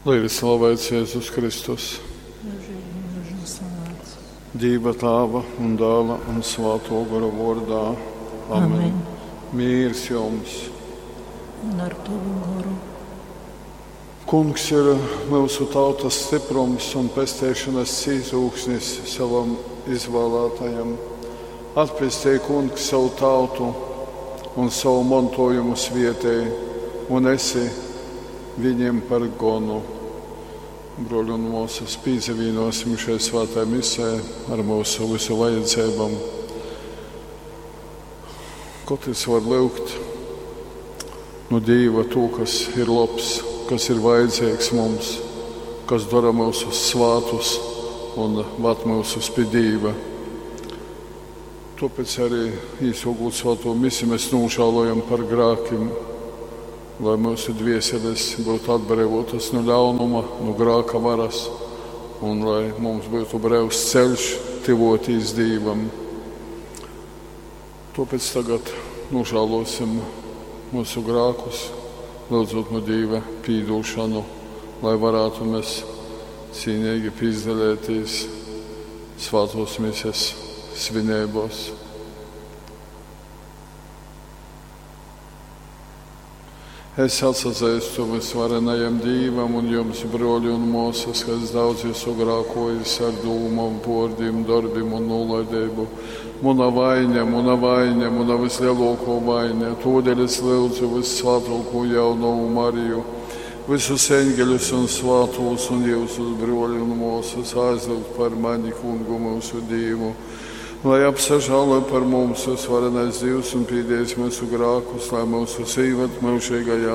Lai ir slavēts Jēzus Kristus. Mūžīgi mūžam slavēts. Dīva Tāva un Dāla un Svāto Gora vārdā. Amen. Amen. Mīrs jums! Un ar tavu goru. Kungs ir mūsu tautas stiprums un pestēšanas cīzūksnis savam izvēlētajam. Atpestī, Kungs, savu tautu un savu mantojumu svietēji un esi viņiem par gonu. Broļi un māsas, pīdzavīnosim šai svētai misē ar mūsu visu vajadzībām. Katrs var lūgt no Dieva to, kas ir labs, kas ir vajadzīgs mums, kas dara mūsus svātus un vad mūsus pie Dieva. Tāpēc arī īsākot svēto misi mēs nožēlojam par grēkiem, lai mūsu dvieseles būtu atbrīvotas no ļaunuma, no grēka varas, un lai mums būtu brīvs ceļš tuvoties Dievam. Tāpēc tagad nožēlosim mūsu grēkus, lūdzot no Dieva piedošanu, lai varētu mēs cīnīgi piedalīties svētos mises svinībos. Es atsazīstu visvarenajam Dievam un jums, broļi un māsas, ka es daudz esmu grēkojis ar dūmām, vārdiem, darbiem un nolaidību. Muna vaina, muna vaina, muna vislielāko vaina. Todēļ es lūdzu vissvētāko jaunavu Mariju, visus eņģeļus un svētos un jūsus broļi un māsas aizlūgt par mani, kungu mūsu Dievu. Lai apsažālo par mums visvarenais Dievs un pīdējis mūsu grākus, lai mūsu sīvat mūžīgajā